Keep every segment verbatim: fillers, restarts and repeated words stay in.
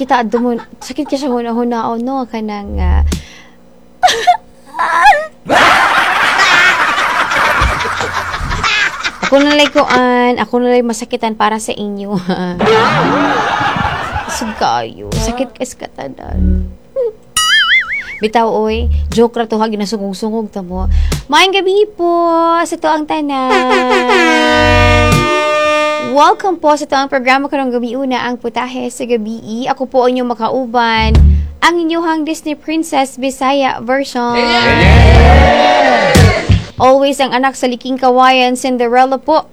Pangita adto mo, sakit ka siya huna-hunaon, no, kanang uh, ako na lay kuan, ako na lay masakitan para sa inyo. Isog kayo, sakit kay sa katanan. Bitaw oy, joke ra to ha, ginasungog-sungog ta mo. Maayong gabi po sa tuang tanan. Welcome po sa tuang programa karong gabi una ang Putahe sa Gabi. Ako po ang inyong makauban, ang inyong Disney Princess Bisaya version. Always ang anak sa liking kawayan, Cinderella po.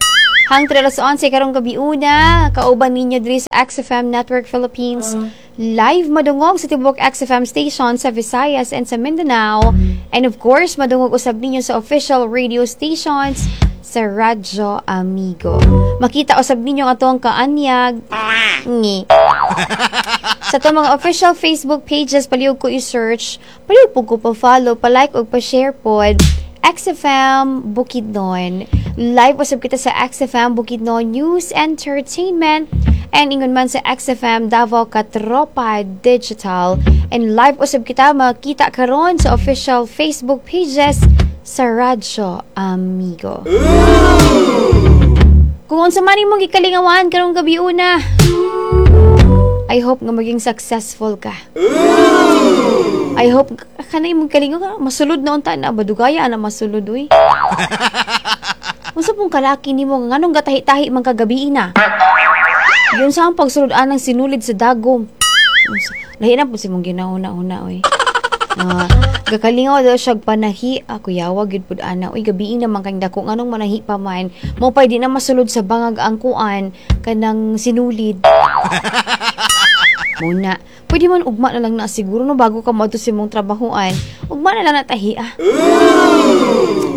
Hangtod alas onse karong gabi una, kauban ninyo diri sa X F M Network Philippines. Live madungog sa tibuok X F M station sa Visayas and sa Mindanao. And of course, madungog usab ninyo sa official radio stations sa Radyo Amigo. Makita usab ninyo ang atong kaanyag. Ngi. Sa itong mga official Facebook pages, palihog ko i-search, palihog po ko pa-follow, pa-like o pa-share po. X F M Bukidnon. Live usab kita sa X F M Bukidnon News Entertainment and ingon man sa X F M Davao Katropa Digital. And live usab kita makita karon sa official Facebook pages sa Radyo Amigo. Kung unsa man imong gikalingawan karong gabi una, I hope nga maging successful ka. I hope kanay imong kalingaw ka masulod na unta na badugaya na masulod uy. Unsa pong kalaki nimo nga nganong gatahi-tahi man kagabi na? Yun sa ang pagsulod anang sinulid sa dagom. Lahi na po si mong ginauna-una oy. Uh, gakalingaw daw siya panahi. Ako yawa gyud pud ana. Uy, gabi na man kang dako nganong manahi pa man. Mo pay di na masulod sa bangag ang kuan kanang sinulid. Muna, pwede man ugma na lang na siguro no bago ka moadto sa imong trabahoan. Ugma na lang na tahi ah.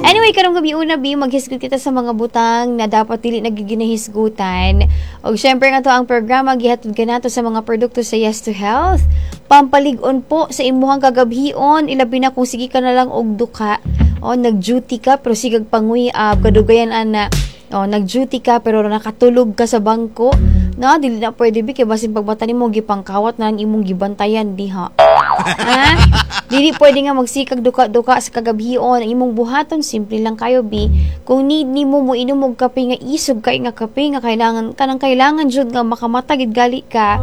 Anyway, karong gabi una bi maghisgot kita sa mga butang na dapat dili nagiginahisgutan. Og syempre nga to ang programa gihatod kanato sa mga produkto sa Yes to Health. Pampalig-on po sa imuhang kagabhion, ilabi na kung sige ka na lang og duka. O nag-duty ka pero sigag panguyab, kadugayan ana. O nag-duty ka pero nakatulog ka sa bangko. Na dili na pwede bi kay basin pagbata nimo gipangkawat na ang imong gibantayan diha. Ha? Dili pwede nga magsikag duka-duka sa kagabhion. Ang imong buhaton simple lang kayo bi. Kung need nimo mo inom og kape nga isog kay nga kape nga kailangan kanang kailangan jud nga makamata gid gali ka.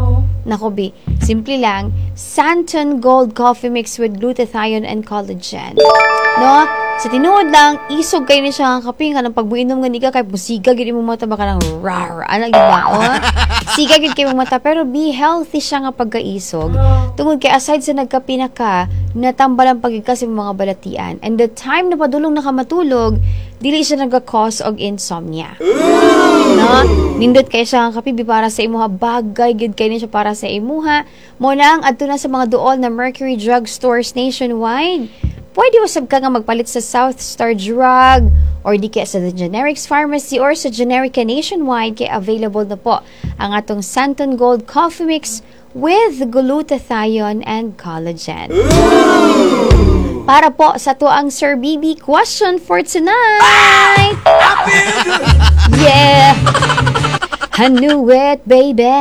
Nako bi, simple lang, Santon Gold Coffee Mix with glutathione and collagen. No? Sa tinuod lang, isog kayo ni siya ang kape nga nang pagbuinom nga ni ka kay musiga gid imong mata baka nang rar. Ana gid ba? Oh? Siga gid kay imong mata pero be healthy siya nga pagkaisog. Tungod kay aside sa nagkape na ka, natambalan pagid ka sa mga balatian. And the time na padulong na ka matulog, dili siya nagka-cause og insomnia. No? Nindot kay siya ang kape para sa imuha, bagay gid kay ni siya para sa imuha. Mo na ang adto na sa mga duol na Mercury Drug Stores nationwide. Pwede usab ka nga magpalit sa South Star Drug or di kaya sa The Generics Pharmacy or sa Generica nationwide kay available na po ang atong Santon Gold Coffee Mix with glutathione and collagen. Ooh! Para po sa tuang Sir B B question for tonight. Yeah! I knew it, baby!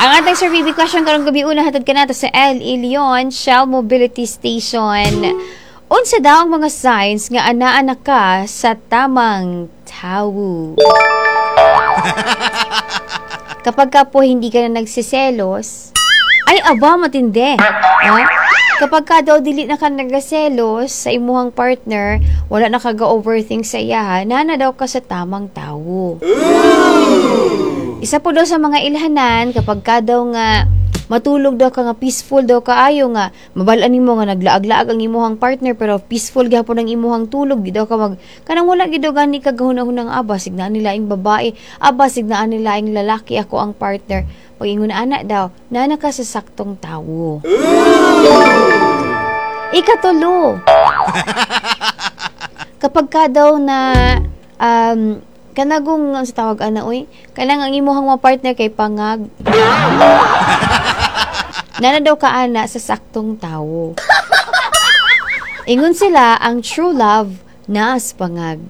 Ang atong Sir B B question karong gabi una hatod kanato sa El Ilion Shell Mobility Station. Unsa daw ang mga signs nga anaa na ka sa tamang tawo? Kapag ka po hindi ka na nagsiselos, ay aba matindi. Huh? Kapag ka daw dili na ka nagaselos sa imuhang partner, wala na ka ga-overthink sa iya, nana daw ka sa tamang tawo. Isa po daw sa mga ilhanan, kapag ka daw nga matulog daw ka nga peaceful daw kaayo nga mabalaan nimo nga naglaag-laag ang imuhang partner pero peaceful gyapon ang imuhang tulog, di daw ka mag kanang wala gid daw gani ka gahuna-hunang aba signaan nila ing babae, aba signaan nila ing lalaki, ako ang partner. Pag ingon ana daw, nana ka sa saktong tawo. Ikatulo. Kapag ka daw na um, kanagong ang sa tawag ana oy, kanang ang imuhang mga partner kay pangag. Nana daw ka ana sa saktong tawo. Ingon sila ang true love naas pangag.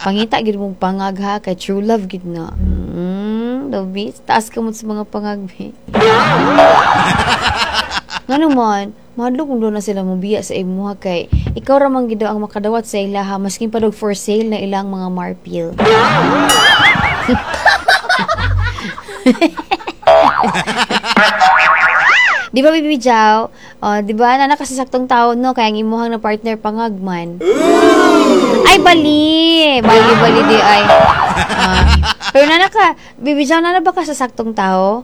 Pangita gid mong pangag ha kay true love gid na. Mm. Ano daw, bi? Taas kamot sa mga pangagbi. Nga naman, mahadlok kung doon na sila mobiya sa imuha kay ikaw ra man gid ang makadawat sa ilaha maskin pa dog for sale na ilang mga marpil. Di ba, Bibi Jow? Oh, di ba, nana kasi saktong taon, no? Kaya ang imuhang na partner pangagman. Ay, bali! Bali, bali di ay. Ah. Pero nana ka, Bibi Jow, nana ba ka sa saktong tao?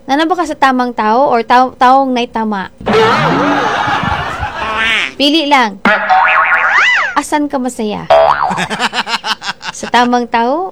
Nana ba ka sa tamang tao or tao, taong nay tama? Pili lang. Asan ka masaya? Sa tamang tao